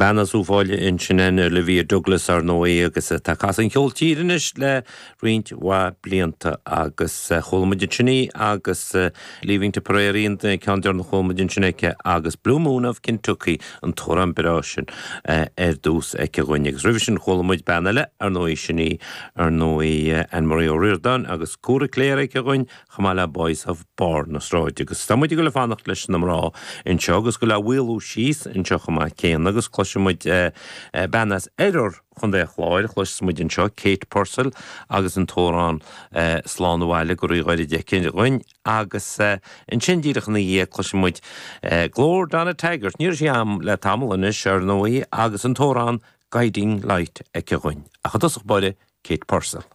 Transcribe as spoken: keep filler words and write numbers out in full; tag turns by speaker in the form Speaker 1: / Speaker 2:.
Speaker 1: Bean as Uíbh Fhailí ansin Olivia Douglas ar ndóigh agus tá ag casadh an cheoil tíre anois le roinnt mhaith blianta agus chuala muid ansin í agus Leaving Tipperary an ceann deireanach a chuala muid ansin aici agus Blue Moon of Kentucky an t-amhrán breá sin ar dtús aici dhúinn agus roimhe sin chuala muid bean eile ar ndóigh sin í ar ndóigh Anne-Marie Ó Ríordáin agus Cúra Cléire aici dhúinn chomh maith le Boys of Barr na Sráide agus tá muid ag dul ag fanacht leis na mná anseo agus go le mhaolú síos anseo chomh maith céanna agus cloisfidh muid bean as oirthear Chontae an Chláir cloisfidh muid anseo Kate Purcell agus an t-amhrán Slán Abhaile go ríghairid aici dhúinn agus ansin díreach ina dhiaidh cloisfidh muid glór Donna Taggart ní raibh sí agam le tamall anois ar ndóigh agus an t-amhrán Guiding Light aici dhúinn ach i dtosach báire Kate Purcell.